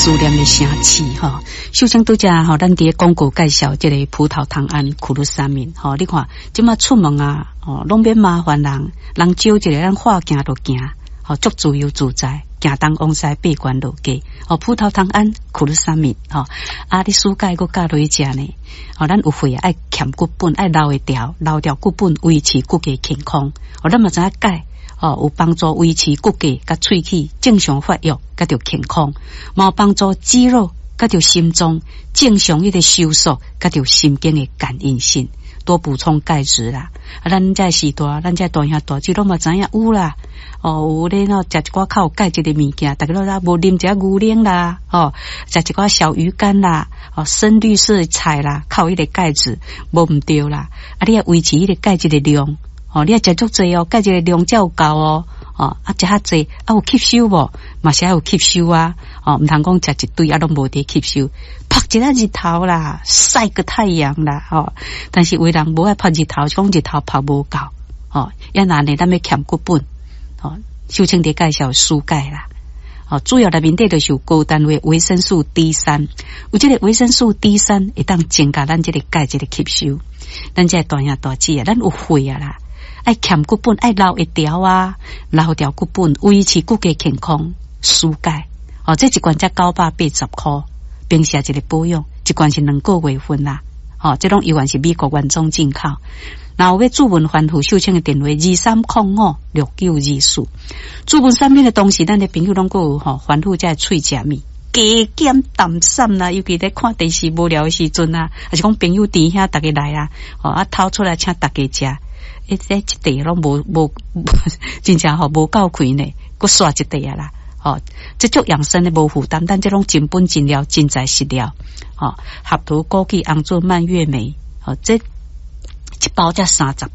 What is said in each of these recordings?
思念的城市吼。首先拄才吼，咱佇廣告介紹這個葡萄糖胺苦魯三敏吼，你看這馬出門啊，吼攏免麻煩人，人招一個咱話行就行，吼足自由自在，行東往西八關落街，吼葡萄糖胺苦魯三敏吼，啊你暑假閣教落去食呢？吼咱有血愛欠骨本，愛留會牢，留牢骨本維持骨骼健康。吼咱嘛知影鈣。哦，有幫助維持骨骼佮喙齒正常發育，佮著健康；嘛有幫助肌肉佮著心臟正常彼個收縮，佮著神經的感應性，多補充鈣質啦。啊，咱這時代，咱這大兄大姊攏嘛知影有啦。哦，有咧喏，食一寡較有鈣質的物件，逐家攏知無啉一下牛奶啦，哦，食一寡小魚乾啦，哦，深綠色菜啦，較有彼個鈣質，無毋對啦。啊，你愛維持彼個鈣質的量。哦，你愛食足濟哦，鈣質的量才有夠哦。哦，啊，食較濟，啊有吸收無？嘛是愛有吸收啊。哦，毋通講食一堆啊，攏無佇吸收。曝一下日頭啦，曬個太陽啦，吼。但是有的人無愛曝日頭，講日頭曝無夠。哦，抑若呢，咱欲欠骨本。哦，秀清佇介紹舒鈣啦。哦，主要內面底就是有高單位維生素 D 三，有這個維生素 D 三會當增加咱這個鈣質的吸收。咱這大兄大姊啊，咱有血啊啦。愛欠骨本，愛留會牢啊，留牢骨本，維持骨骼健康，舒鈣。哦，這一罐才980箍，平時一個保養，一罐是2個月份啦。哦，這攏猶原是美國原裝進口。若有欲諮詢番號，秀清的電話23056924。諮詢產品的同時，咱的朋友攏閣有吼煩惱，這喙食物加減淡散啦，尤其咧看電視無聊的時陣啊，抑是講朋友弟兄逐家來啊，哦啊掏出來請逐家食。欸，這一塊攏無無，真正吼無夠開呢，閣煞一塊啊啦！吼，這足養生的無負擔，但這攏真本真料，真材實料。吼，合桃枸杞紅棗蔓越莓，吼，這一包才三十，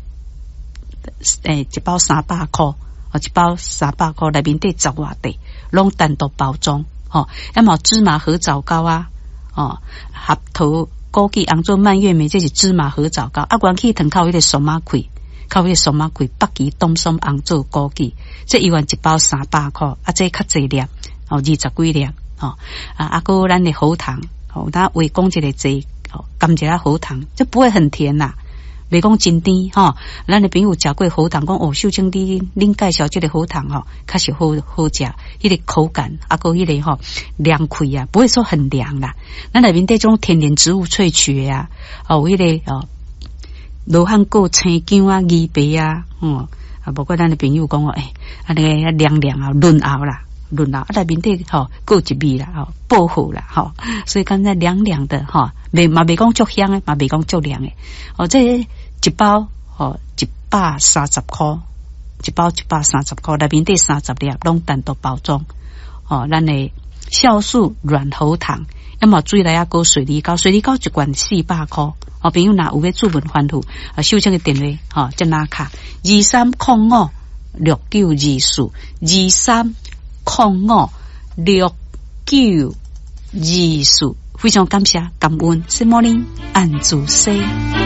欸，一包300箍，哦，一包三百箍，內面底十外塊，攏單獨包裝，吼，抑嘛芝麻褐藻膏啊，哦，合桃枸杞紅棗蔓越莓，這是芝麻褐藻膏，啊，元氣糖較有彼個松仔桂。較彼個松仔桂，北芪冬筍紅棗枸杞，這猶原一包300箍，啊，這較濟粒，哦，20幾粒，吼，啊，啊，閣咱的喉糖，吼，咱話講一個濟，吼，含一下喉糖，這不會很甜啦，袂講真甜，吼。咱的朋友食過喉糖，講哦，秀清你恁介紹這個喉糖吼，確實好好食，彼個口感，啊，閣彼個吼涼氣啊，不會說很涼啦。咱內面底這種天然植物萃取的啊，哦，有彼個哦。羅漢果、生薑啊、魚皮啊，嗯，啊，無怪咱的朋友講哦，欸，按呢涼涼啊，潤喉啦，潤喉，啊，內面底吼，閣有一味啦，吼，薄荷啦，吼，所以感覺涼涼的，吼，袂嘛袂講足香的，嘛袂講足涼的，哦，這一包吼130箍，一包130箍，內面底30粒，攏單獨包裝，哦，咱的酵素軟喉糖，抑嘛水來仔閣水梨膏，水梨膏一罐400箍。哦，朋友若有欲諮詢番號，啊，秀清的電話，吼，這拿卡23056924，23056924，非常感謝感恩，什麼呢？按主說。